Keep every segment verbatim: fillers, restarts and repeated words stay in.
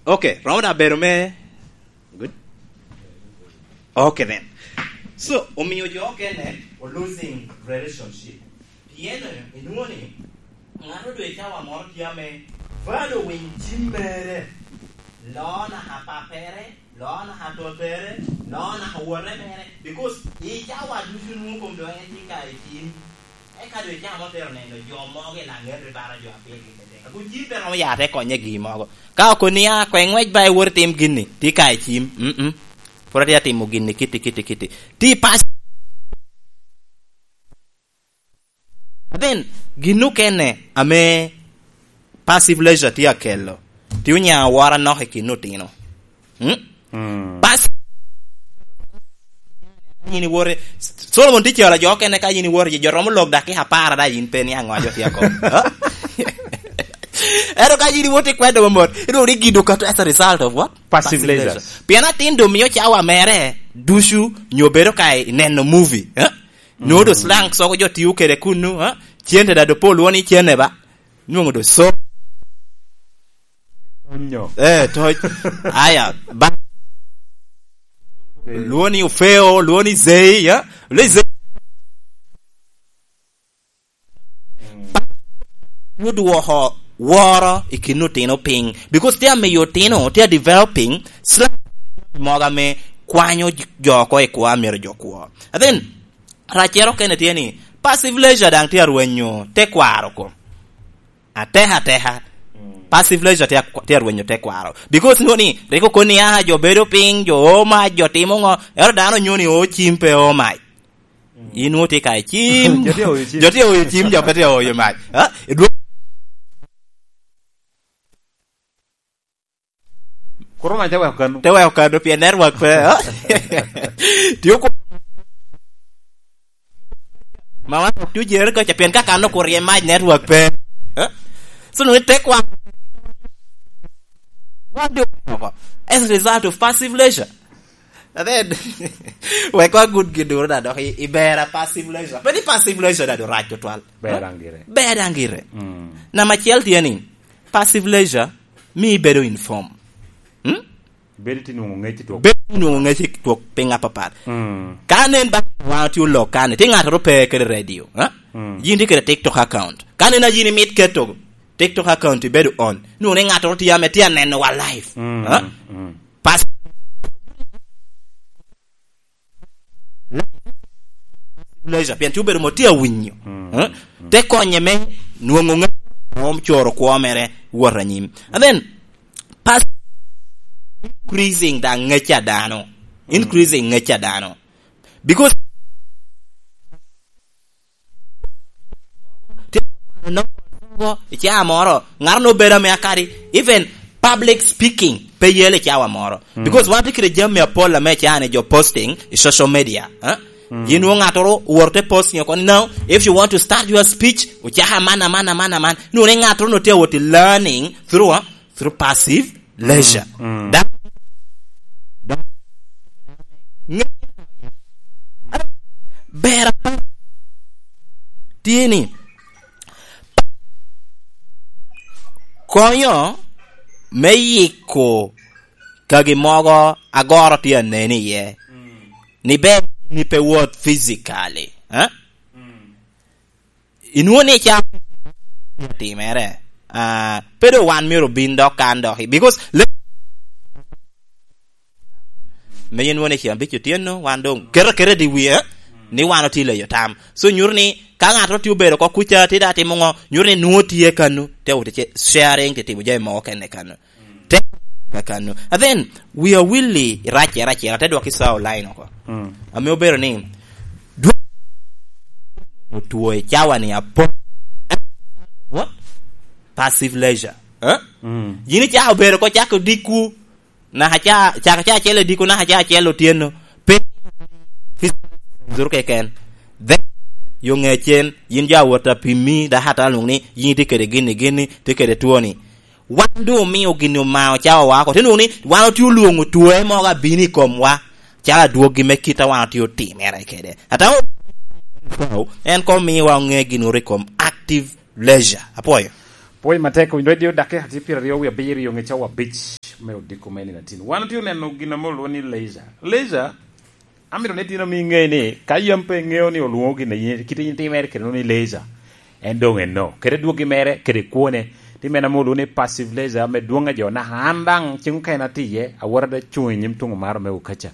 Okay, romo da bedo me, good. Okay then. So, omiyo jo okene o losing relationship. Pien inwoŋo ni, ŋat odwe cawa moro tye ame bado winy cim mere, loo naka pappere, loo naka tottere, loo naka wote mere, because i cawa ducu nwoŋo kom doŋ en tye ka i cim. Eka doŋ icamo otero neno jo mogo i laŋet i bara jo a pigi kede. Ago cim pe romo ya te konye gi mogo. Ka okoni a, "Kwe ŋwec ba iwot itim gini," tye ka i cim. Mm-mm. Pwod atye atimo gini kiti, kiti, kiti. Ti pas. Then, gin okene ame passive leisure tye akelo, tye onyaŋo awora nok i kin otino. Hmm? Mm. Pas-, yin iwoto, Solomon tye calo jo okene, ka yin iwoto, jo romo lok dakika apar ada, yin pe niaŋ ŋo jo tye ako. Ha? Ento ka yin iwoto i kwedo mamot, inwoŋo ni gido kato as a result of what? Passive leisure. Pien atin doŋ mio cawa mere ducu, nyo bedo ka i neno movie, ha? Nwoŋo doŋ slang soko jo tio kede kunnu, ha? Cente da doŋ pol woni cente ba. Nwoŋo doŋ so. Tonyo. Eh, toc. Aya, ba. Eh. Lwoni Ofeo, lwoni Zei, ya? Lwoni Zei. Mm. Odwoko woro i kin otino piny. Because tye amiyo otino, tye a developing, slang mogo ame kwanyo jo oko i kwo, myero jo kwo. And then, raccere okene tye ni, passive leisure daŋ tye arwenyo tekwaro kom. Ateka ateka. Mm. Passive leisure tye, tye arwenyo tekwaro. Because nwoŋo ni, rik okoni, "Ah, jo bedo piny, jo oo mac, jo timo ŋo." Ero dano onyo ni oo cim pe oo mac. Mm. In nwoŋo tye ka i cim. Jo tye oyo cim. Jo tye oyo cim, jo pe tye oyo mac. Ha? Idwo- Kuro mac te weko kano. Te weko kano, pien network pe, ha? Tye oko. Ma wan ok tye jere kaca, pien ka kano okurye mac, network pe. Ha? So, nwoŋo tek wan. Wan dwe oko. As a result of passive leisure. And then, wek wa good gin duro da dok i, i bera passive leisure. Pe ni passive leisure da do rac tutwal. Ber daŋ gire. Ber daŋ gire. Mm. Namba acel tye ni, passive leisure, mi ibedo inform. Hmm? Bedo tye nwoŋo ŋec i twok. Bedo tye nwoŋo ŋec i twok piny apapat. Mm. Ka nen ba wan otye olok kani, tye ŋattoro pe kede radio, ha? Mm. Yin tye kede TikTok account. Ka nen a yin imit keto TikTok account ibedo on, nwoŋo ni ŋattoro tye ame tye aneno wa live. Mm, ha? Mm. Pas-, leisure, pien tye obedo mo tye awinyo. Mm. Eh? Mm. Te konye me nwoŋo ŋe-, rom coro kwo mere wot anyim. And then, pas-, increasing daŋ ŋec a dano. Mm. Increasing ŋec a dano. Because tye i caa moro, ŋat onwoŋo bedo ame akadi, even public speaking pe yelo i cawa moro. Mm. Because wan tye kede jami apol ame i caa ni jo posting i social media, eh? Mm. Yin nwoŋo ŋattoro owoto te posting oko ni, "Now, if you want to start your speech, ocako aman, aman, aman, aman." Nwoŋo ni ŋattoro onwoŋo tye awot i learning through, eh? Through passive leisure. Mm, mm. Da-, da-, nge-, ber apa-, tye ni, konyo me yiko kagi mogo agoro tye aneni iye. Mm. Ni ber ni pe wot physically, eh? Mm. Inwoŋo ni ca timere, ah, pe doŋ wan myero obin dok kan dok i, because le-, me yin nwoŋo ni ceng abic otyeno, wan doŋ keto aketa i wie, ni wan otye leyo tam. So, nyuto ni ka ŋat otye obedo oko kuca, tye daŋ timo ŋo, nyuto ni nwoŋo tye kanu, te wot i ce-, sharing, te timo jami mogo kene kanu. Te kakano. And then, we are willing, racce, racce, te dwok i sawa online oko. Mm. Ame obedo ni, dwe-, otwo i cawa ni apo-, what? Passive leisure. Eh? Mm. Yin icako bedo ko cako dikwu, naka ca, cako ca acel i dikwu, naka ca acel otyeno. Pe zuru keken. Then, yo ŋecen, yin ja wot a pimi, daka ata lwong ni, yin itye kede gini, gini, tye kede twoni. Wan doŋ omio gini omao cawa wa oko. Te nwoŋo ni wan otye olwoŋo twoe mogo abino i komwa, calo adwoggi me kit a wan otye otimere kede. Ata en koŋ miwa oŋe gin oro i kom active leisure. Apwoyo. Pwoyo matek, Winj Radio, dakika tye pyeraryo wie abiro i oŋe cawa abic. Me odiko me nino atin. Wan otye oneno gin ame olwoŋo ni laser. Laser, amito ni itino mi iŋe ni, ka yam pe iŋeo ni olwoŋo gin a yin, kite yin timere kede ni laser, en doŋ enno. Kede dwoggi mere, kede kwone, ti meno ame olwoŋo ni passive laser, ame dwoŋ a jo naka an daŋ ceŋ okene atye iye, awot ada cuŋ i nyim tuŋ omaro me okaca.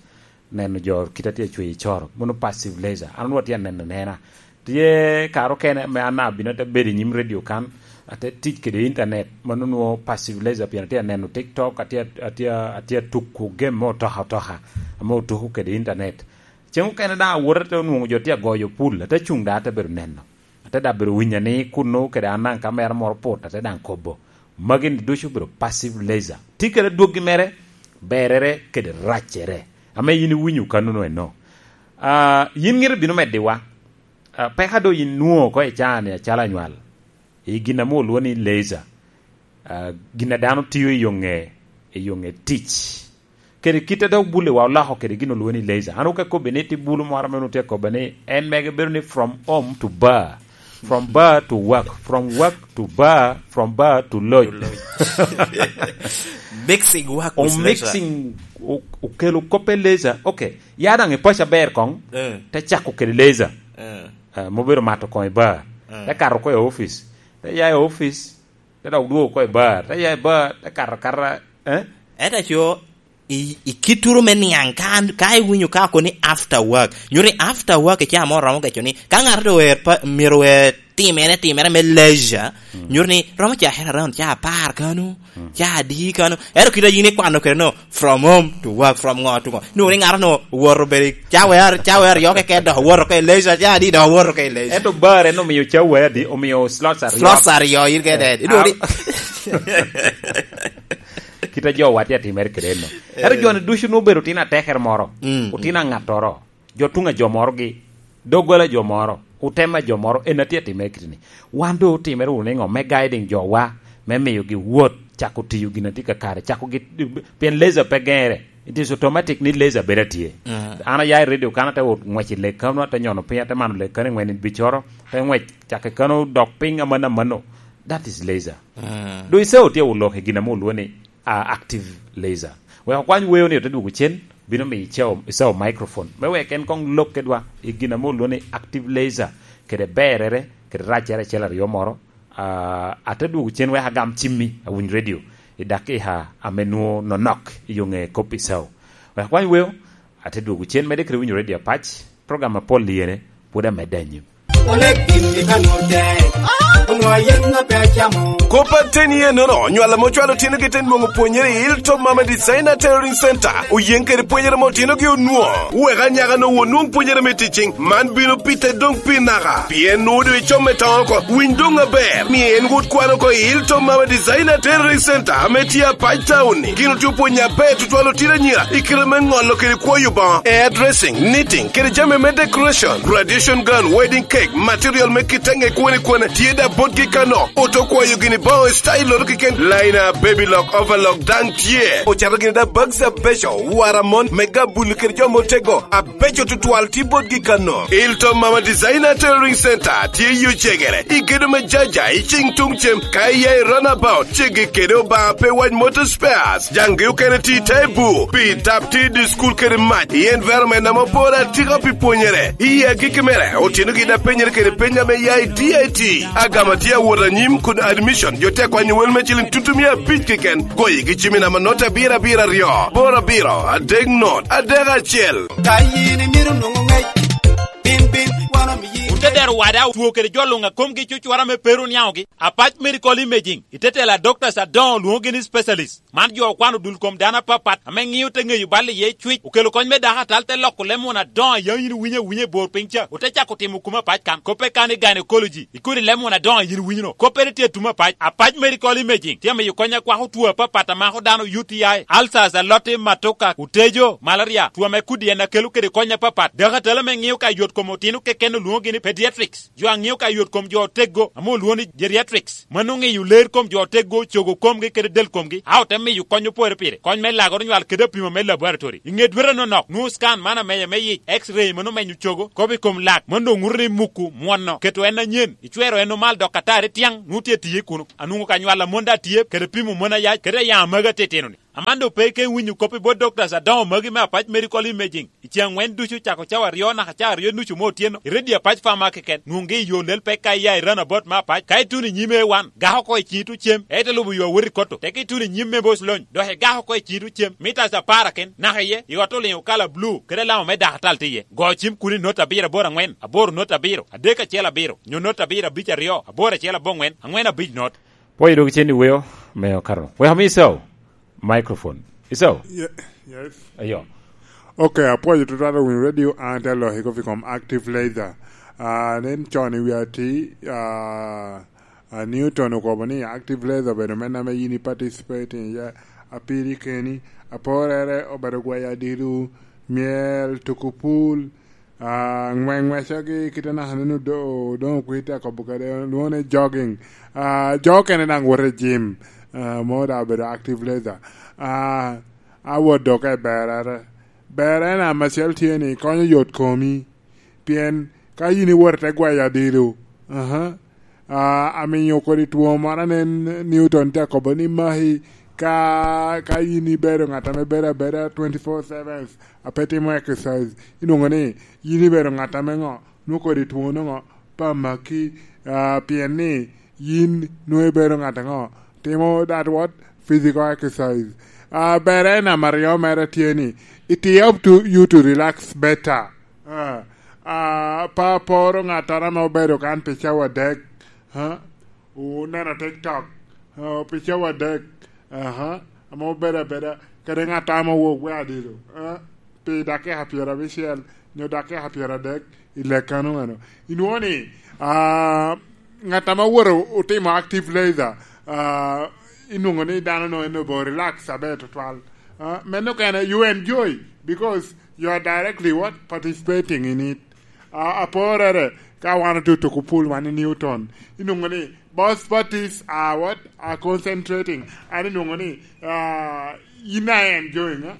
Neno jo kit a tye acweyo i coro, mono passive laser. An onwoŋo atye aneno anena. Tye kare okene ame an abino ate bedo i nyim radio kan, ate tic kede internet, mano onwoŋo passive laser, pien atye aneno TikTok, atye, atye, atye atuko game me otoka otoka, ame otuko kede internet. Ceŋ okene daŋ awot ate onwoŋo jo tye agoyo pul, ate cuŋ daŋ ate bedo neno. Ate daŋ bedo winyo ni kunnu kede an daŋ ka mera moro put, ate daŋ kobo. Magi ni ducu obedo passive laser. Tye kede dwoggi mere, berere kede raccere. Ame yin iwinyo kanono eno. Ah, yin ŋete bino meddiwa. Ah, peka doŋ yin nwoŋo oko i caa-ni acalo anywal. I gin ame olwoŋo ni laser. Ah, gin a dano tio i yo ŋe, i yo ŋe tic. Kede kit a dok bulewa oloko kede gin olwoŋo ni laser. An oka kobbe ni tye bulu moro ame onwoŋo tye akobbe ni en mege bedo ni from home to bar, from bar to work, from work to bar, from bar to lodge. To lodge. Mixing work with laser. Omixing, o-, okelo kop e laser. Okay, ya daŋ i paco aber koŋ, eh, te cako kede laser. Eh. Eh, mobedo mato koŋ i bar. Eh. Te kato oko i office. Te ya i office, te dok dwogo oko i bar, te ya i bar, te kato akata, eh? Ento aco, i, i kituru me niaŋ, ka, ka iwinyo ka oko ni after work, nyuto ni after work i caa mo romo geco ni, ka ŋato doŋ ower pa, myero ower timere, timere me leisure, mm, nyuto ni romo cakere around caa apar kano, mm, caa adi kano. Ento kit a yin ikwano kede no, from home to work, from ŋo to ŋo. Nwoŋo ni ŋato no owoto obedo i cawa, cawa aryo keken, dok owoto oko i leisure, caa adi, dok owoto oko i leisure. Ento bar en omio cawa adi, omio slots aryo. Slots aryo, in kede. Inwoŋo ni kit a jowa tye atimere kede no. Ento, eh, jo-ni ducu nwoŋo obedo otino atekere moro, mm, otino aŋattoro, jo tuŋ a jo morogi, doggola a jo moro, otem a jo moro, en a tye atimere kite-ni. Wan doŋ otimere wunu niŋo me guiding jowa, me miyogi wot, cako tiyo gin a tye kakare, cako gi, pien laser pe geŋere. It is automatic ni laser bedo atye. Mm. An aya i radio kan, ate wot ŋwec i lee kano, ate nyono piny, ate mano lee kano i ŋwen i bicoro, ate ŋwec cako i kano dok piny amanno amanno. That is laser. Mm. Doŋ i caa otye olok i gin ame olwoŋo ni, ah, active laser. Wek okwany weo ni ote dwogo cen, bino miyo i caa, i caa microphone. Me wek en koŋ lok kedwa i gin ame olwoŋo ni active laser, kede berere, kede raccere acel aryo moro. Ah, ate dwogo cen wek agam cimmi awiny radio i dakika ame nwoŋo nonok i yo ŋe kop i caa. Wek akwany weo, ate dwogo cen medde kede winyo radio apac, program apol iyene, pwod amedde anyim. Oleg gin i kanut tek, onwoŋo yen ŋa pe acamo. Kop ateni enono, onywalo ame ocwalo otinogi te nwoŋo pwonyere i Hilltop Mama Designer Tailoring Center, oyeŋ kede pwonyere ame otinogi onwoŋo. Wek anyaka-nu onwoŋ pwonyere me teaching, man bino pite doŋ pi naka. Pien nwoŋo doŋ icom me toŋo oko, winy doŋ aber. Mio en wot kwan oko i Hilltop Mama Designer Tailoring Center ame tye Apac Town-ni. Gin otye opwonyo aber tutwal otino anyira i kite me ŋolo kede kwoyo boŋo, hairdressing, knitting, kede jami me decoration, graduation gown, wedding cake, material me kite ŋe kwone kwone, tye da botgi kano. Oto kwayo gini boŋo i style-loto keken, liner, baby lock, overlock daŋ tye. Ocato gini da bags abeco, wara mon, me gabulu kede jo motego, abeco tutwal tye botgi kano. Hilton Mama Designer Tailoring Center tye i Ocegere, i gedo me Jaja, i cing tuŋ cem, ka iya i runabout, ceggi kede Obaŋa pe wac Motor Spares. Jaŋgi okene tye i te bur, pi tap tye i dye cukul kede mac, i environment ame oporo atika pi pwonyere. I agikki mere, otinogi daŋ penyere kede peny ame ya i D I T. Agama tye awot anyim kun admission, jo tye akwanyo wel me ciliŋ tutumia abic keken. Goyo gi cim i namba not abiro abiro aryo, boro abiro, adek not, adek acel. Ka yin imito nwoŋo ŋec, bin, bin, wan omiyi. Wun te dero wada, otwo kede jo luŋ a komgi cucwara me pe ru niaŋogi. Apac Medical Imaging, i te telo a doctors adoŋo lwoŋogi ni specialist. Man jo okwano dul kom dano apapat ame ŋio te ŋeyo bal iye cwic, okelo kony me dako atal, te loko leb muna adoŋo a yam yin iwinyo awinya i bor piny ca, ote cako timo kume apac kan. Koppe kan i gynecology, i kodi leb muna adoŋo a yin iwinyo no. Koppere tye i tumo apac. Apac Medical Imaging tye amiyo kony a kwako two apapat a mako dano, U T I, ulcers, aloti, matuka, otejo, malaria, two ame kodi en a kelo kede kony apapat. Dako atal ame ŋio ka yot kom otino keken olwoŋogi ni pediatrics. Jo a ŋio ka yot kom jo oteggo, ame olwoŋo ni geriatrics, mano ŋeyo ler kom jo oteggo, cogo komgi kede del komgi, a ote miyo kony opore pire, kony me lagoro nywal kede apimo me laboratory. I ŋe dwete anonok, nwoŋo scan man ameya me yic, X-ray mano menyo cogo, kop i kom lak, mano doŋ ŋuto ni muku, mwono, keto en anyen, icwero en omal dok atari tyaŋ, nwoŋo tye tiye kuno. Anwoŋo ka nywal a mon daŋ tye, kede pimo mon ayac, kede ayaŋ amagi atitino-ni. Aman doŋ pe ikeŋ winyo kop i bot doctors adoŋo magi me Apac Medical Imaging. I ceŋ aŋwen ducu cako cawa aryo naka cawa aryo nucu me otyeno, i redio Apac Pharma keken, nwoŋgi i yo lel pek ka iya i Runabout me Apac. Ka ituno i nyim A one, gak oko i ciŋi tuŋ cem, ite lubo yo awot i Kotto. Teke ituno i nyim me Boc Lony, dok igak oko i ciŋi tuŋ cem. Mitas apar aken, naka iye, i ot oliŋo kala blu, kede alama me dakatal tye iye. Go cim kun i not abiro aboro aŋwen, aboro not abiro, adek acel abiro, nyo not abiro abic aryo, aboro acel aboŋwen, aŋwen abic not. Pwoyo dog cen i weo me okato. Wek ami Icau microphone. Icau. Ye-, yes. Ayo. Ok, apwoyo tutwal owinyo radio, an te aloki kop i kom active laser. Ah, nen con i wi ati, ah, ah, Newton okobo ni active laser obedo men ame yin i participating iye apiri keni, aporere obedo gweyo adilu, myel, tuko pul, ah, ŋweŋwecogi, kite naka neno do-, doŋ okwi te akobo kede, lwongo ni jogging. Ah, jo okene daŋ woto i gym, ah, mo daŋ obedo active laser. Ah, awot dok i berere. Berre en amacel tye ni konyo yot komi, pien ka yin iwot i te gwayo adilo, aha, ah, amiyo kodi two moro anen Newton te akobo ni maki ka, ka yin ibedo ŋat ame bedo abeda twenty-four seven, a pe timo exercise, inwoŋo ni yin ibedo ŋat ame ŋo, nwoŋo kodi two noŋo pe amaki, ah, pien ni yin nwoŋo ibedo ŋat aŋo, timo that what? Physical exercise. Ah, berre namba aryo mere tye ni, it help to, you to relax better. Ah, ah, pe aporo ŋattoro ame obedo kan pi cawa adek, ha? Oneno TikTok, ah, pi cawa adek, aha, ame obedo abeda kede ŋat ame owok we adilo, ah, pi dakika pyerabicel nyo dakika pyeradek i lekano eno. Inwoŋo ni, ah, ŋat ame owoto otimo active laser, ah, inwoŋo ni dano no en obo relax aber tutwal. Ah, meno kene, you enjoy because you are directly what? Participating in it. Ah, aporere, ka wan otutuko pul wan i Newton, inwoŋo ni both parties are what? Are concentrating. An inwoŋo ni, ah, in are enjoying, eh?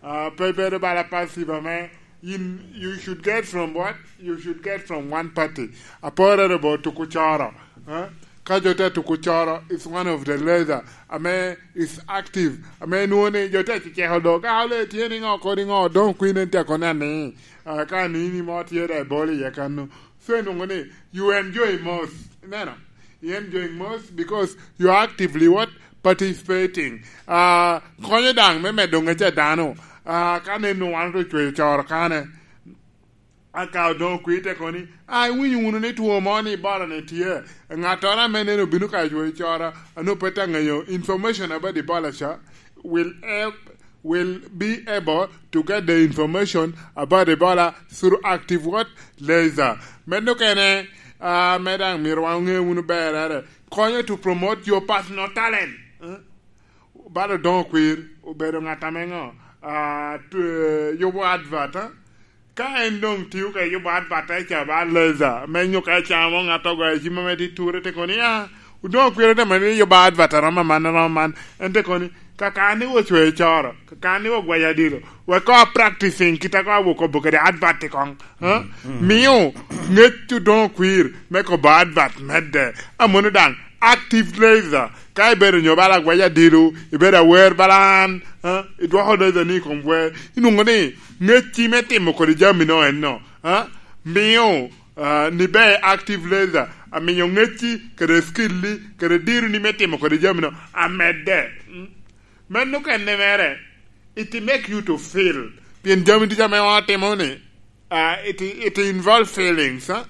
Ah, pe bedo bala passive ame, yin, you should get from what? You should get from one party. Aporere bo tuko coro. Eh? Ka jo te tuko coro, it's one of the laser ame is active. Ame nwoŋo ni jo te ceceko do. Ka ole tye ni ŋo kodi ŋo, doŋ kwin en te kone ni, ah, ka ni ni mo tye da i bol iye kano. So, inwoŋo ni, you enjoy most. Ineno? You enjoy most because you are actively what? Participating. Ah, konyo daŋ me medo ŋec a dano. Ah, ka nen wan ocweyo coro kane, aka odoŋo kwir te koni, ah, iwinyo wunu ni two mo ni Ebola ni tye. Ŋattoro ame neno obino ka cweyo coro, ano pe te ŋeyo information about Ebola ca, will help, will be able to get the information about Ebola through active what? Laser. Meno kene, ah, me daŋ myero wan oŋe wunu berere. Konyo to promote your personal talent. Eh? Bala odoŋo kwir, obedo ŋat ame ŋo? Ah, tu-, eh, yubo advert, eh? Ka en doŋ tio ka yubo advert, eh, ca ba laser, me nyuka camo ŋat ogoyo cim ame tye ture, te koni, ah, odoŋo kwir, te mani yubo advert aromo man, aromo man. En te koni, kaka ni ocweyo coro, kaka ni ogwayo adilo, wek ko practicing kita ko awo kobo kede advert i koŋ, ha? Mm, mm. Mio ŋec odoŋo kwir me kobo advert medde. Amono daŋ active laser, ka ibedo nyo bala agwayo adilo, ibedo awer bala an, ha? Idwoko laser ni i kom wer, inwoŋo ni ŋecci me timo kodi jami no enno, ha? Mio, ah, ni be active laser, amiyo ŋecci kede skilli kede dironi me timo kodi jami no amedde. Mm. Meno kene mere, it make you to feel. Pien jami ducu ame wan watimo ni, ah, it, it involve feelings, huh?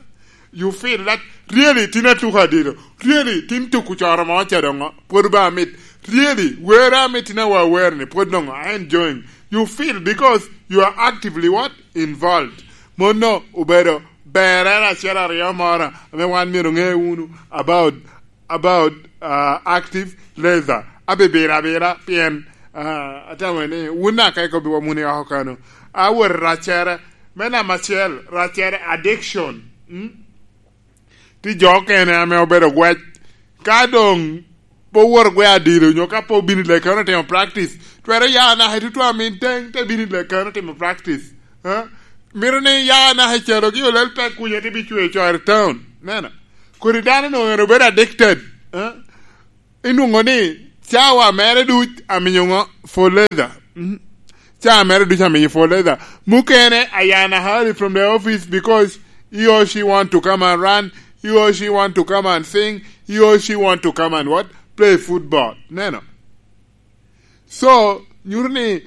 You feel that really tin atuko adilo. Really tin tuko coro mo ca doŋo, pwod ba amit. Really, wer amit tin awa wer ni, pwod doŋo, I enjoying. You feel because you are actively what? Involved. Mono obedo berere acel aryo moro, ame wan myero ŋe wunu about about, uh, active laser. Abibira abira pien, uh, atamo ni wun aka ikobi wa muni oko kano. Awor racere, me namba acel, racere addiction. Mm? Ti jo okene ame obedo gwec. Ka doŋ pe owor gwe adilo, nyo ka pe obino i lekano timo practice, twero ya naka i tutwa min teŋ te bino i lekano timo practice. Eh? Mito ni ya naka i calogi olel pe kunya te bicweyo coro i town. Nena. Kodi dano no en obedo addicted. Eh? Inwoŋo ni Cawa mere duc amiyo ŋo? Fertilizer. Mm. Cawa mere duc amiyo fertilizer. Mukene ayana hurry from the office because he or she want to come and run, he or she want to come and sing, he or she want to come and what? Play football. Neno. So, nyuto ni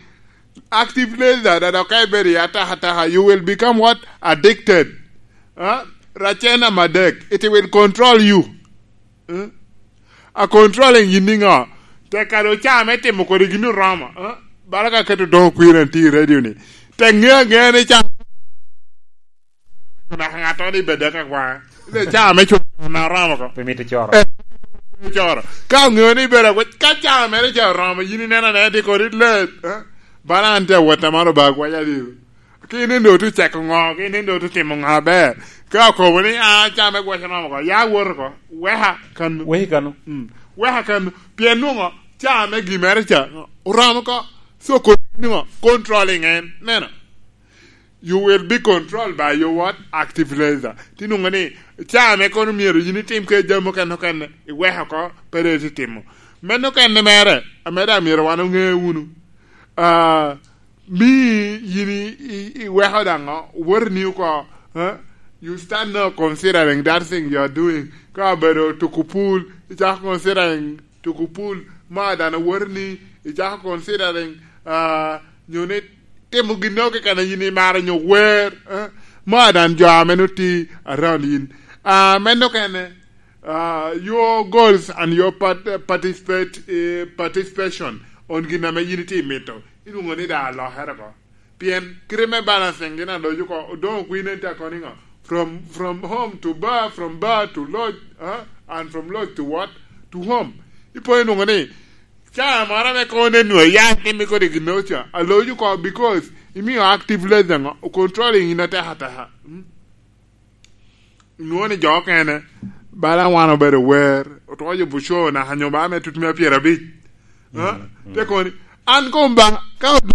active laser da dok ka ibedo i ataka ataka, you will become what? Addicted. Huh? Racen amadek. It will control you. Hmm? A controlling yin niŋo? Tek kadi oca me timo kodi gin oromo. Huh? Bala ka keto doŋ kwir en tye i radio ni. Tek ŋe aŋea ni ca naka ŋattoro ni bed ka kwa. Ile ca me coro na oromo ko. Pe mito coro. Eh, coro. Ka oŋeo ni bed akwa, ka ca mere ca oromo, yin ineno ne tye kodi let. Eh? Bala an tye awot amaro ba kwa ya diro. Ki nen do tu ceko ŋo, ki nen do tu timo ŋo aber. Ka okobo ni, "Ah, ca me gwac oromo ko, ya wot ko, weka kan." Weki kano. Mm. Weka kan. Pien nwoŋo, ca me gi mere ca, oromo ko. So, kodi nwoŋo, controlling en. Neno. You will be controlled by your what? Active laser. Ti nwoŋo ni, ca ame kono myero yin itim ke jami okene okene, iweko oko, pe dong ititimo. Meno okene mere, ame daŋ myero wan oŋe wunu. Ah, mi yin i, i, iweko daŋ o, wotoni oko, eh? You start now considering that thing you are doing. Ka obedo tuko pul, icako considering tuko pul, ma dan wotoni, icako considering, ah, nyo ni timo gin okene yin imaro nyo wer, eh? Ma dan jo ame noti around yin. Ah, meno kene, ah, your goals and your part-, participate, eh, participation on gin ame yin itye mito. Ilwongo ni da alokere ko. Pien kite me balancing gin aloc oko, odoŋo kwine tye akoni ŋo? From, from home to bar, from bar to lodge, huh? And from lodge to what? To home. Ipo inwoŋo ni, ca moro ame kono nen nwoŋo ya itimi kodi gin oca, aloc oko because imio active laser ŋo? Ocontrolling in ateka ateka. Hmm? Nwoŋo ni jo okene, bala wan obedo wer, otwo yubo co naka nyo ba me tut me pyerabic. Ha? Mm, mm. Te kono ni, an kom ba, ka od-,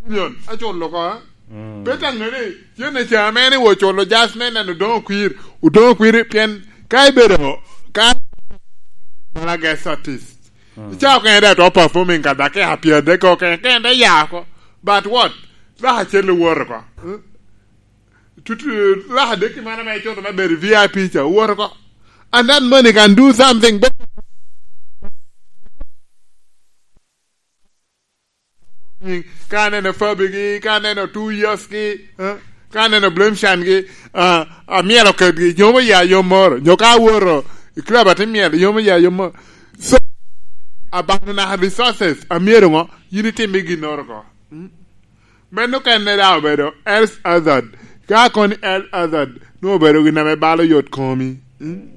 million, aculo ko, ha? Mm. Pe taŋe ni, cen i ca mene wo culo just me neno Odoŋo Kwir, Odoŋo Kwir, pien ka ibedo, ka bala guest artist. Mm. Ica okene da to performing ka dakika pyeradek okene, kene te ya oko. But what? Dok acel owoto oko. Hmm? Tut, eh, laka dek i man ame icuto me bedo V I P ca, wot oko. And that money can do something better. Ka aneno Fabi gi, ka aneno Two Years gi, eh, ka aneno Blemshan gi, ah, amyero oketgi, yomo ya yom moro. Nyo ka awoto i club ate myero yomo ya yom moro. So, abano naka resources, amyero ŋo? Yin itim i ginnoro ko. Mm? Meno okene daŋ obedo health hazard. Ka kono ni health hazard, nwoŋo obedo gin ame balo yot komi. Mm?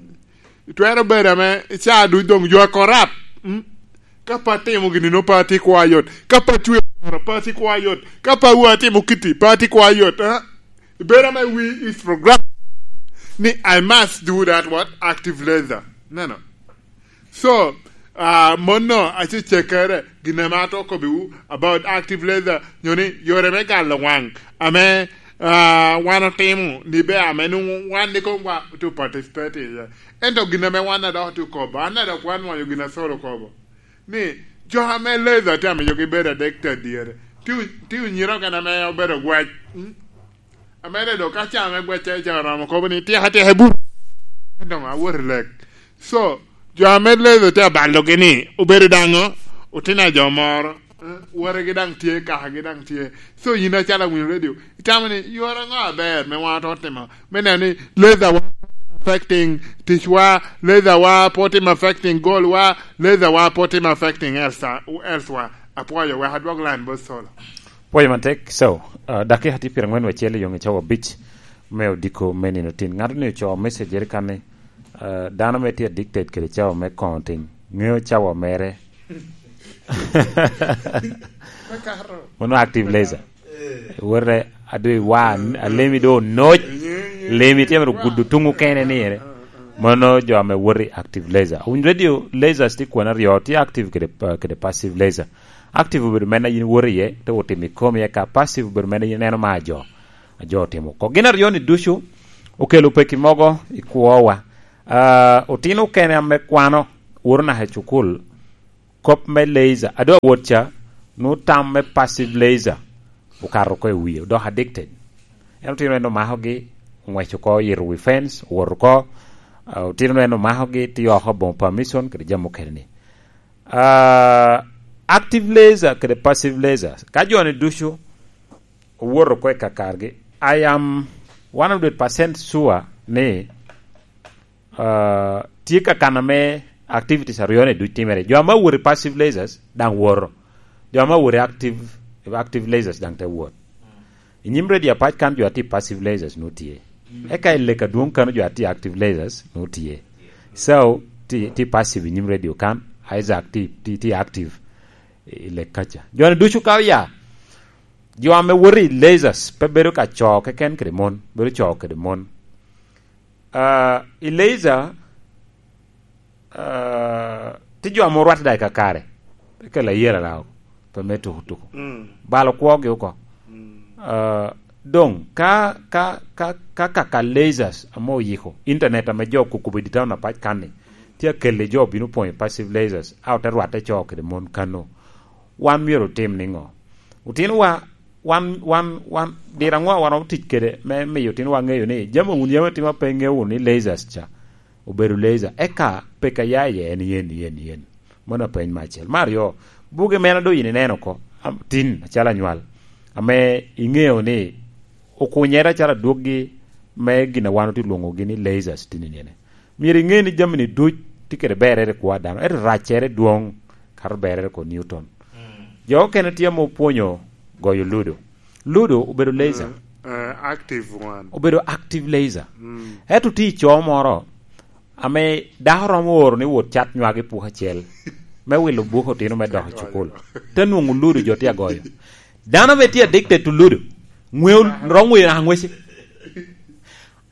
Itwero bedo ame ca duc doŋ you are corrupt. Mm? Ka pe atimo gini, nwoŋo pe atye kwa yot. Ka pe acweo oro, pe atye kwa yot. Ka pe awo atimo kiti, pe atye kwa yot. Ah? Ibedo ame we is program ni I must do that what? Active laser. Neno. So, ah, mono acecekere, gin ame atye okobbiwu about active laser, nyo ni yore me galo waŋ ame, ah, wan otimo ni be ame nwoŋo wan ni komwa to participate iye. Ento gin ame wan a dok otye okobo, an a dok wan wanyo gin a Saul okobo, ni jo ame laser tye amiyogi bedo addicted dyere, tye, tye onyiro okene ame obedo gwac. Mm? Amede dok ka ca me gwecce ca oromo kobo ni, "Tyeka, tyeka, ibut." Doŋ awot i lek. So, jo ame ledo tye abalogi ni, obedo daŋ o, otino a jo moro, eh, wotegi daŋ tye, kakagi daŋ tye. So, yin acalo awinyo radio, itamo ni, yore aŋo aber me wan oto timo? Me neno ni, laser wa affecting ticwa, laser wa pe otimo affecting goal wa, laser wa pe otimo affecting else, else wa. Apwoyo, wek adwog line bot Solo. Pwoyo matek. So, uh, dakika tye pyeraŋwen wacel i yoŋ i cawa abic me odiko me nino tin. Ŋato ni ocoo message eri kan ni, uh, dano me tye addicted kede cawa me koŋo tin. Ŋeo cawa mere. Mano active laser. Wore adwe wa, alemi do onoc. Lemi tye mere gudo tuŋ okene ni ere. Mano jo ame wori active laser. Awinyo radio lasers tye kwena aryo, tye active kede, uh, kede passive laser. Active obedo men a yin iwoto iye, te otimo i komi, eka passive obedo men a yin ineno ma ajo, ajo otimo oko. Gin aryo-ni ducu okelo peki mogo i kwowa. Ah, otino okene ame kwano, Woro naka i cukul, kop me laser, a doŋ awot ca, nwoŋo tam me passive laser okato oko i wie, odoko addicted. En otino en omakogi, ong'weco oko, oyito wi fence, owoto oko, ah, otino en omakogi, tye oko aboŋo permission kede jami mukene-ni. Ah, active laser kede passive laser, ka jo-ni ducu owoto oko i kakargi, I am one hundred percent sure ni, ah, tye kakan ame activities aryo-ni duc timere. Jo ame owoto i passive lasers daŋ woto. Jo ame owoto i active, active lasers daŋ te wot. I nyim radio apac kan jo a tye i passive lasers nwoŋo tye. Eka i lek adwoŋ kan jo a tye i active lasers nwoŋo tye. So, tye, tye passive i nyim radio kan, Isaac tye, tye, tye active i lek kaca. Jo-ni ducu ka oya, jo ame woto i lasers pe bedo ka co keken kede mon, bedo co kede mon. Ah, i laser, ah, tye jo ame orwatte daŋ i kakare, pe kelo ayela daŋ, pe me tuko tuko. Mm. Balo kwogi oko. Mm. Ah, doŋ, ka, ka, ka, ka, ka, ka lasers ame oyiko, internet ame jo okubo i dye town apac kan-ni, tye akelle jo obino pwonyo passive lasers, a ote rwatte co kede mon kano. Wan myero otim niŋo? Otinowa, wan, wan, wan, dira ŋo wan otic kede me miyo otinowa ŋeyo ni jami wun yam atimo pe ŋeo wunu ni lasers ca obedo laser, eka peka ya iye en yen, yen, yen. Mano apeny me acel. Me aryo, buge mene doŋ yin ineno oko, am-, tin, acalo anywal, ame iŋeo ni okunyere acalo adwoggi me gin a wan otye lwoŋogi ni lasers tin i nene. Myero iŋe ni jami-ni duc tye kede berrere i kwo a dano, ento raccere dwoŋ kato berrere i kwo Newton. Mm. Jo okene tye ame opwonyo goyo ludo. Ludo obedo laser. Mm, eh, active one. Obedo active laser. Mm. Ento tye i co moro ame dako romo oro ni wot cat nywagi puk acel me wilo buke otino me dok i cukul. Te nwoŋo ludo jo tye agoyo. Dano ame tye addicted to ludo, ŋweo, romo ŋweyo naka ŋwece.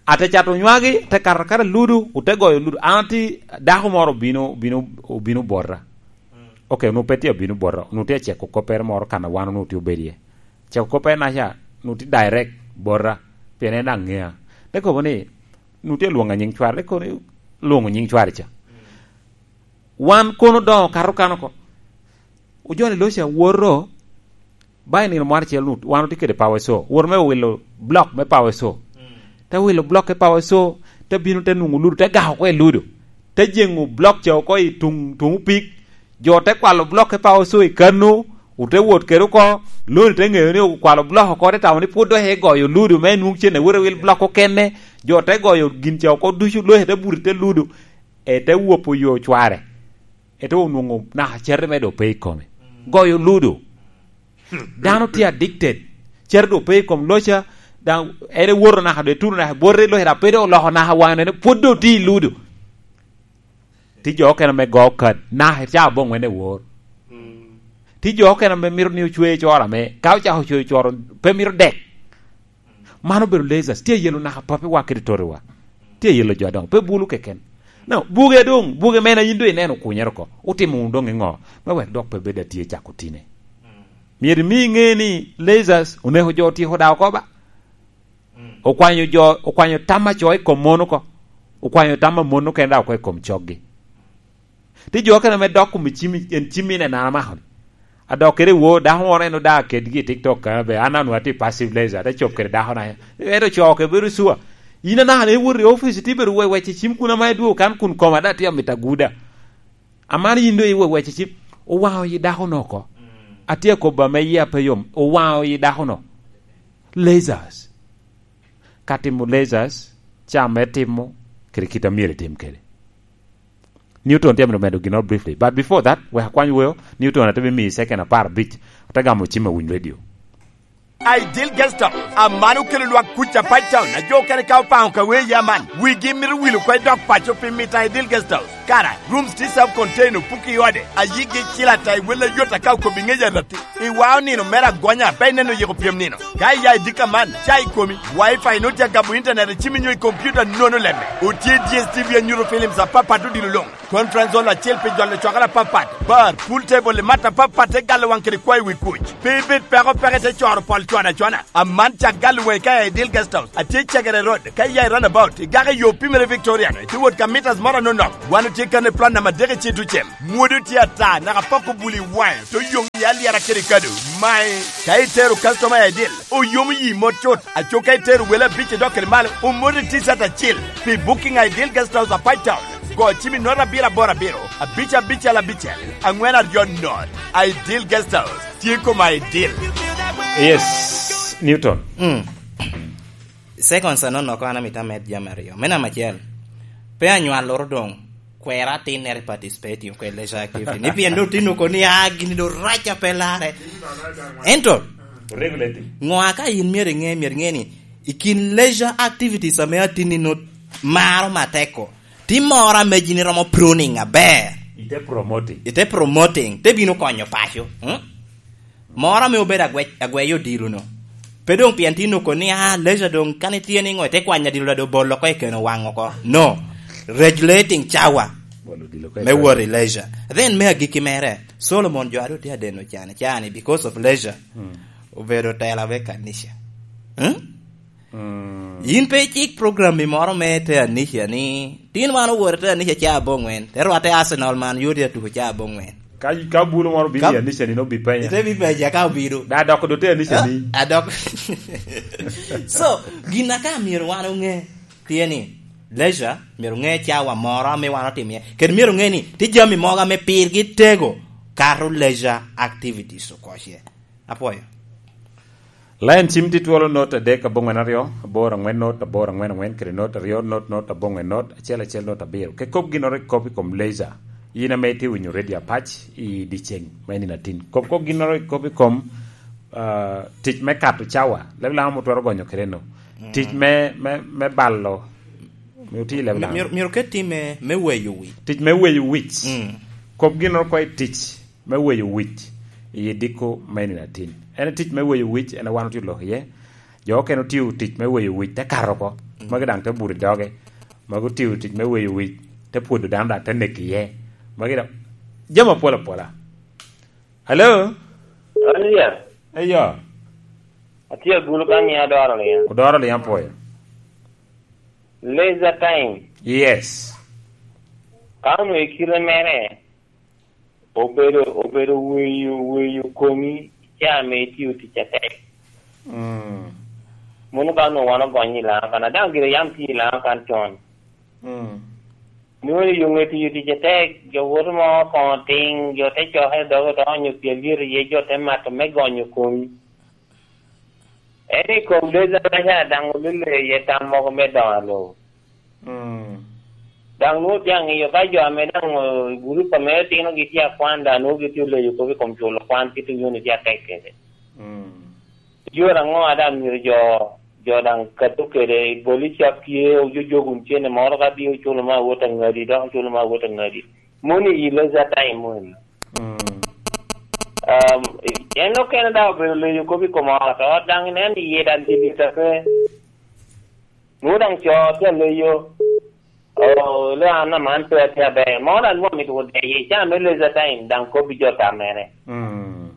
Ate cato nywagi, te kato akata ludo, ote goyo ludo. An atye, dako moro obino, obino, obino bota. Ok, onwoŋo pe tye obino bota, onwoŋo tye aceko koppere moro kan a wan onwoŋo tye obedo iye. Ceko koppere naca, onwoŋo tye direct bota, pien en daŋ ŋea. Te kobo ni, onwoŋo tye lwoŋo nyiŋ cware, te kobo ni, lwoŋo nyiŋ cware ca. Wan kono doŋ okato kan oko. Ojoni loca woto, ba i nino moro acel nu-, wan otye kede Power Saw. Woto me wilo block me Power Saw. Mm. Te wilo block me Power Saw, te bino te nwoŋo ludo, te gako oko i ludo. Te jeŋo block ca oko i tuŋ, tuŋ opik. Jo te kwalo block me Power Saw i kano, ote wot kede oko, loni te ŋeyo ni okwalo block oko, te tamo ni pwod dok igoyo ludo, me nwoŋo cen awot awil block okene. Jo te goyo gin ca oko ducu, loca te buto i te ludo. E te wopo yo cware. Ento onwoŋo naka certe mere doŋ pe i kome. Goyo ludo. Dano tye addicted. Certe doŋ pe i kom loca, daŋ en ewoto naka doŋ etuno naka bwote i loca, dok pe doŋ oloko naka waŋe, nene pwod doŋ tye i ludo. Tye jo okene ame go kad, naka ca aboŋ wene wor. Tye jo okene ame mito ni ocwe coro ame, ka ocako cweyo coro, pe mito dek. Man obedo lasers, tye ayelo naka papiwa kede totiwa. Tye ayelo jo adoŋo, pe bulu keken. No, buge doŋ, buge mene yin doŋ ineno okunyere oko. Otimo wunu doŋ iŋo? Me wek dok pe bed atye cako tine. Myero imi iŋe ni lasers oneko jo otyeko daŋ oko ba. Okwanyo jo, okwanyo tam a co i kom mon oko. Okwanyo tam a mon okene daŋ oko i kom coggi. Tye jo okene ame dok kom i cim, en cim ine nana mako ni. A dok kede wo, dako moro en oda kedgi i TikTok ka be, an anwa tye passive laser, te cop kede dako na. Ento co ke bedo sua. In anaka ne iwot i office, tye bedo we-, wece cim kun ama idwo kan kun koma da tye amita guda. Aman yin do iwe-, wece cim. Owaŋo yi dako no oko. Atye akobo ame yia pe yom. Owaŋo yi dako no. Lasers. Ka timo lasers, ca me timo, kede kit a myero itim kede. Newton tye amito medo ginnoro briefly. But before that, wek akwany weo, Newton ate bimiyi second apar abic, ate gamo cim awiny radio. Ideal Guest House, aman okelo lwak kuc a Pine Town, a jo okene ka opaŋo ka wee ya man, wigi mito wil oko i dok paco pi mito Ideal Guest House. Kara, rooms tye self contained, opuki i ode, a yigi cil ata i wel ayot aka okobi ŋec arati. Iwao nino mere agonya, pe ineno yiko pyem nino. Ka iya i dika man, ca i komi, Wi-Fi nut ya gamo internet, icimi nyo i computer nono lemme. Otye D S T V anyuto films apapat odilo luŋ. Conference hall acel pi jolo cwakere apapat. Bar, pool table, i mat apapat, te galo waŋ kede kwayo wi kuc. Pe ibed peko peke te coro pol cwana cwana. Aman cak galo waŋi ka i Ideal Guest House. Atye Cagere Road, ka iya i roundabout, igako i yo pimere Victoriano, itye wot ka meters moro anonok. Wan otye Tye kan i plan namba adek i Cetucem. Mwodo tye ata, naka pok obuli waŋe, to yoŋ i alyera kede kado. Mae, ka itero customer i Aidil, oyomo yi mot cut. Aco ka itero wele abic i dok kede malo, omot i T-shirt acil. Pi booking Aidil Guest House a Pai Town, go cim i not abiro aboro abiro, abic abicel abicel, aŋwen aryo not. Aidil Guest House, tye kom Aidil. Yes, Newton. Mm. Seconds anonok an amito amed jami aryo. Me namba acel, pe anywaloro doŋ kwero atinnere i participating kede leisure activity. Ni pien doŋ tin oko ni, "Ah, gini doŋ rac a pe larre." Ento, Regulating. Ŋo a ka in myero iŋe, myero iŋe ni, i kin leisure activities ame atinni no maro matek-ko, tim moro ame gini romo pruning aber. Ite promoting. Ite promoting, te bino konyo paco. Hmm? Moro ame obedo agwe-, agweyo odilo no. Pe doŋ pien tin oko ni, "Ah, leisure doŋ kan itye ni ŋo, ite kwanyo adilo doŋ bolo oko i keno waŋ oko." No. Regulating cawa. Bolo odilo oko i me keno. Wot i leisure. Then me agikki mere, Solomon jo a doŋ tye adeno cane, cane because of leisure. Hmm. Obedo tela me kanica. Hmm? Mm. In pe icik program i moro me te anisha ni, tin wan owor te anisha ca aboŋwen, te rwatte Arsenal man yodi atuko ca aboŋwen. Ka, ka bulu moro bino i anisha ni, no bi penya. Ite bi penya ka obino. Da dok do te anisha ni. Ah, adok. So, gin aka myero wan oŋe, tye ni, leisure, myero oŋe cawa moro ame wan otimo iye. Kede myero oŋe ni, tye jami mogo ame pirgi tego, kato leisure activities okoce. Apwoyo. Lain cim tye twolo not adek aboŋwen aryo, aboro aŋwen not, aboro aŋwen aŋwen, kede not aryo not, not aboŋwen not, acel acel not abiro. Ke kop ginnoro i kop i kom leisure, in ame itye winyo redio apac i dyeceŋ me nino atin. Kop kop ginnoro i kop i kom, ah, tic me kato cawa, leb lama mutwero gonyo kede no. Mm. Tic me, me, me balo, me oti leb lama. Myero, myero ket tim me, me weyo wic. Tic me weyo wic. Mm. Kop ginnoro ko i tic me weyo wic i diko me nino atin. En tic me weyo wic, en a wan otye lok iye. Jo okene otio tic me weyo wic, te kato oko. Mm. Magi daŋ te buto i doge. Magi otio tic me weyo wic, te pwodo dano daŋ te neko iye. Magi daŋ jami apol apola. Hello? Ania. Eyo. Atye agulu ka ni adoro liŋ. Odoro liŋ apwoyo. Leisure time. Yes. Ka onwoŋo i kite mere, obedo, obedo weyo, weyo komi ca ame itio tic atek. Mm. Mono ka onwoŋo wan ogonyo i Laŋa kan, a daŋ gire yam tye i Laŋa kan con. Mm. Nwoŋo i yoŋe tiyo tic atek, jo woto mo koŋo tiŋ, jo te coke i doge to onyo pi alyet iye, jo te mato me gonyo komi. En i kom leca meca daŋ olule iye tam mogo me doŋo alo. Mm. Daŋ nwoŋo tye aŋeyo ka jo ame daŋ, eh, gurup ame otinogi tye akwan, daŋ nwoŋo gitye oleyo kop i kom culo kwan, kit onyoni tye atek kede. Mm. Yore aŋo a daŋ myero jo, jo daŋ kato kede, i boli cap tye, ojojok wun cene moro ka bi oculo ma awot aŋadi, dok oculo ma awot aŋadi. Moni i leisure time moni. Mm. Um, en okene daŋ obedo leyo kop i kom ot, ot daŋ inen iye daŋ tye dita pe. Nwoŋo daŋ co tye aleyo, oh, le an aman pe atye aber. Moro daŋ nwoŋo mito wot deye, ca me leisure time daŋ kop i jo tam mere. Mm.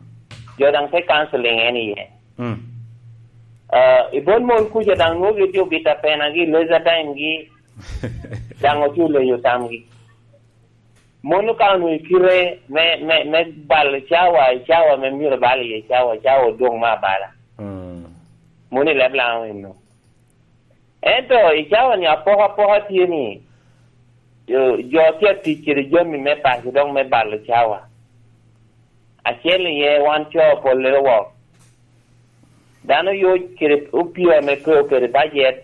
Jo daŋ te counseling en iye. Mm. Ah, i bot mon kuca daŋ nwoŋo gitye obita penagi i leisure time gi, daŋ otye oleyo tamgi. Mon ka onwoŋo i kite me, me, me balo cawa, i cawa me myero bal iye cawa, cawa odwoŋ me abala. Mm. Mon i leb Laŋo eno. Ento i cawa ni apokapoka tye ni, jo, jo tye atic kede jami me paco dok me balo cawa. Acel iye wan co pollere wok. Dano yoc kede opio ame pe okede bajet,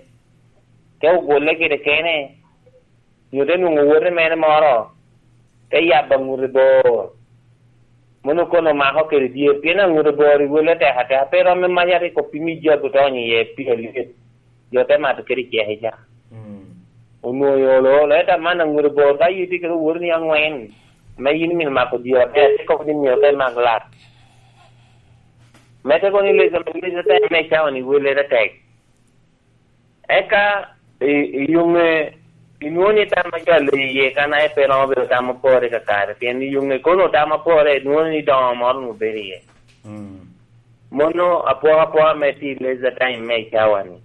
te ogwolle kede kene, nyo te nwoŋo owote mere moro, te yabo aŋute bor. Mono kono omako kede dyere, pien aŋute bor i welle tek ateka, pe romo me mac arik opimi jabu to onyo iye pi alyet, jo te mato kede ceke ca. Mm. Onwoŋo olo, ento aman aŋute bor, ka yie tye kede owoti ni aŋwen, me yin mino mako dyere atek, te kobo ni myero te mak lat. Mete kono i leca, leca te me cawa ni welle te tek. Eka i, i yoŋe, inwoŋo ni tam a jo a leyo iye kan aye pe romo bedo tam apore kakare, pien i yoŋe kono tam apore, inwoŋo ni doŋo moro onwoŋo bedo iye. Mm. Mono apokapoka me ti leisure time me i cawa ni.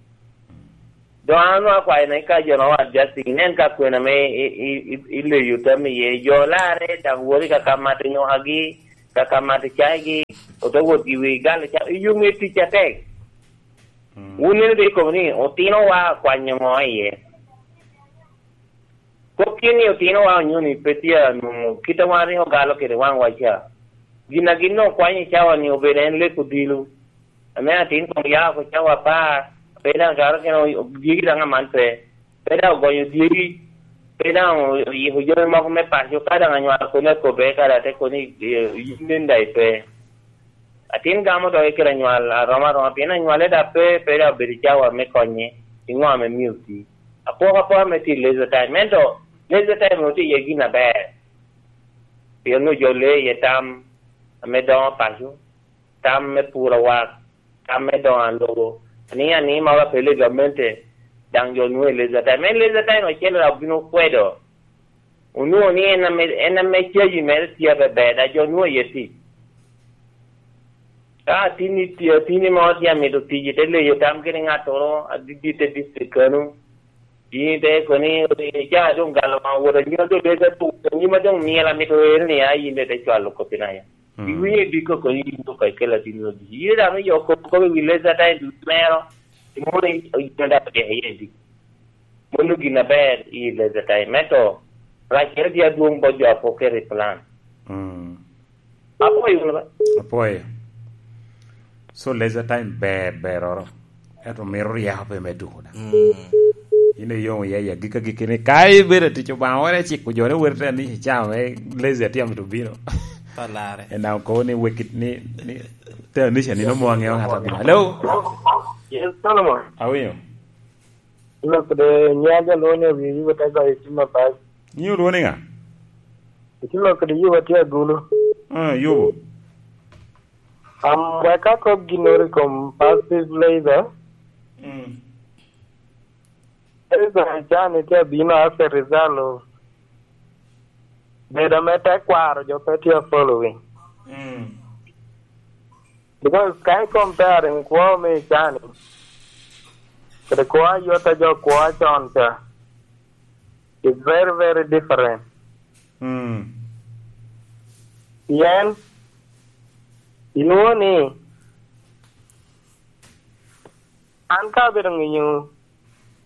Doŋ an onwoŋo akwayo ni ka jo nwoŋo adjusting, inen ka kwena ame i, i, i, i leyo tam iye, jo larre daŋ wot i kaka mato nyokagi, kaka mato caigi, ote wot i wi galo ca, i yo me tic atek. Mm. Wun nino de ikobo ni otinowa akwanyo ŋo iye? Kop tye ni otinowa onyo ni pe tye anwoŋo kit a wan rik ogalo kede waŋwa ca. Gin a gin okwanyo i cawa ni obedo en lek odilo. Ame atin koŋ ya oko cawa apar, pe daŋ kato kene o-, dyegi daŋ aman pe. Pe daŋ ogonyo dyegi, pe daŋ o-, oyiko jami moko me paco, ka daŋ anywalo koni akobbe, ka daŋ te koni, eh, yin nen daŋ ipe. Atin gamo doge kede anywal aroma aroma, pien anywale daŋ pe, pe daŋ obedo i cawa me konye, i ŋo ame mio pi. Apoko apoka me ti leisure time, ento leisure time otye iye gin aber. Pien onwoŋo jo lee iye tam ame doŋo paco, tam me puro awak, tam me doŋo alobo, aniŋ aniŋ ma wapello i gamente, daŋ jo nwoŋo i leisure time. En leisure time acel daŋ obino kwedo. Onwoŋo ni en ame, en ame caji mere tye abeber, daŋ jo nwoŋo iye tic. Ka atini tye, atini mo tye amito tic, ite leyo tam kede ŋattoro adit i te district kano, yin ite koni, "Ca doŋ galo waŋ wot anyima doŋ deke tu, anyima doŋ myel amito ero ni a yin doŋ ite cwalo kop i naya." Mm. Iwinyo i diko koni yin doŋ ka ikelo atini odit. Yin daŋ me yo kop, kop i wi leisure time ducu mero, imoni oyino daŋ otyeko iye i diko. Mano gin aber i leisure time. Ento, raccere tye adwoŋ bot jo a pok keto i plan. Mm. Apwoyo wunu ba? Apwoyo. So, leisure time ber, beroro. Ento mito ryeko pe me tuko da. Mm. In iyomo iye, ya gika giki ni, ka ibedo tic Obaŋa, wore ciko jo ni weri te ni cam, eh, leisure tye amito bino. Palare. En daŋ okobo ni wekit ni, ni te anisha ni nomo aŋeo ŋat abino. Hello? Yes, Solomon. Awinyo. Ilok kede nyaja lwonge wi wi te goyo cim apac. Nyi olwonge ŋa? Ilok kede yuba tye agulu. Ah, yubo. Am, wek akop ginnoro i kom passive labor. Mm. Labor can tye abino as a result of bedo me tekwaro jo pe tye following. Mm. Because ka i comparing kwo me i can-ni, kede kwo a yot a jo kwo a con ca, it's very, very different. Mm. Pien, inwoŋo ni, an ka abedo ŋenyo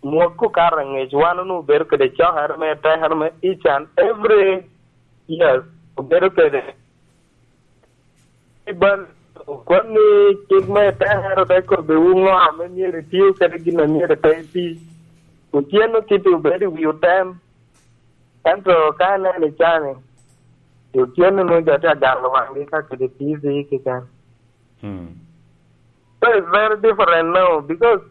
mwakki okato angec, wan onwoŋo obedo kede cokere me tekere me each and every year, obedo kede. I bal, okwan ni cik me tekere te kobbiwu ŋo ame myero itio kede gin a myero ite iti. Otyeno kite obedo i wi otem. Ento ka ineno i can-ni, otyeno nwoŋo jo tye agalo waŋgi ka kede T V keken. Hmm. So it's very different now because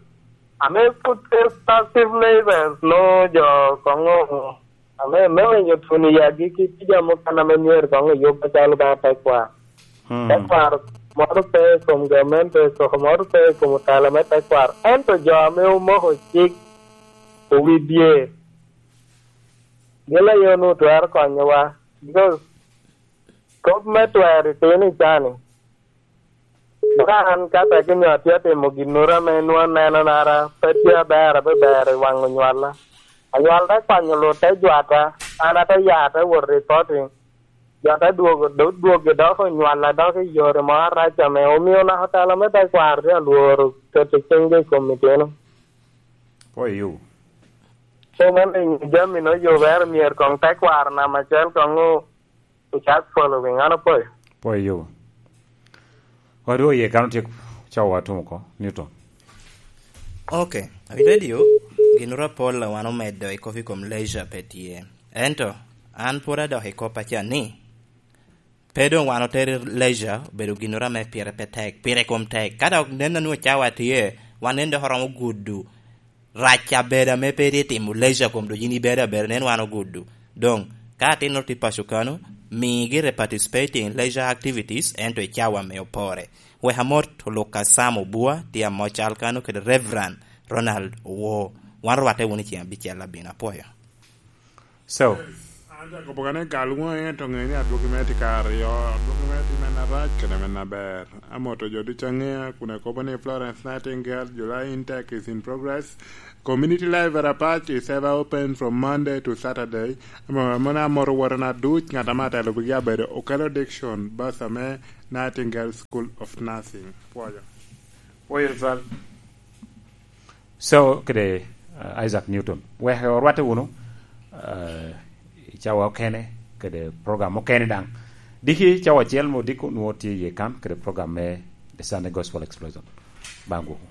ame put passive labors no jo koŋo ame me winyo tun i yagi ki tija mukene ame myero koŋ eyub acalo ba tekwaro. Hmm. Tekwaro moro pe i kom gamente, koko moro pe i kom otala me tekwaro. Ento jo ame omoko cik owi dye, gin aye onwoŋo twero konyowa. Because kop me twero itino i can-ni, ka an ka tek onyo atye atimo ginnoro ame nwoŋo aneno nara pe tye aber, abe ber i waŋ onywalla. Anywal te kwanyo lut te jwata, an ate ya te wot i koti. Jo te dwogo, do-, dwogo dok onywalla dok i yore mo arac ame omio naka otela me tekwaro tye alworo keto ciŋge i kom itino. Pwoyo. So, man ringo jami no yubere myero koŋ tekwaro namba acel koŋ o-, ocak following, an apwoyo. Pwoyo. Odwo iye kan otye cawa tum oko, Newton. Ok, i radio, gin oro apol a wan omedo i kop i kom leisure pe tye. Ento, an pwod adok i kop aca ni, pe doŋ wan otero leisure obedo gin oro ame pire pe tek, pire kom tek. Ka dok nen a nwoŋo cawa tye, wan nen dok oromo gudo rac abedo ame pe itye timo leisure kom dok yin ibedo abeda, nen wan ogudo. Doŋ, ka atinno tye paco kano, migi re participating leisure activities, ento i cawa me opore. Wek amot Luka Sam Obua, tye amoc cal kano kede Reverend Ronald Owo. Wan rwatte wunu i ceng abicel abino, apwoyo. So, An akobo kane gal wunu, ento ŋe ni adwogi me tye ka aryo, adwogi me tye men arac kede men aber. Amoto jo ducu aŋea, kun akobo ni Florence Nightingale July Intake is in progress. Community library Apac is ever open from Monday to Saturday. Amo-, amon amoto wotona duc, ŋat ame atelo wigi abedo Okello Dickson, bursar me Nightingale School of Nursing. Pwoyo. Pwoyo, Rizal. So, kede, uh, Isaac Newton. Wek orwatte wunu, uh, i cawa okene, kede program okene daŋ. Diki cawa acel mo diko nwo tye iye kan, kede program me The Sunday Gospel Explosion. Baŋ gwoko.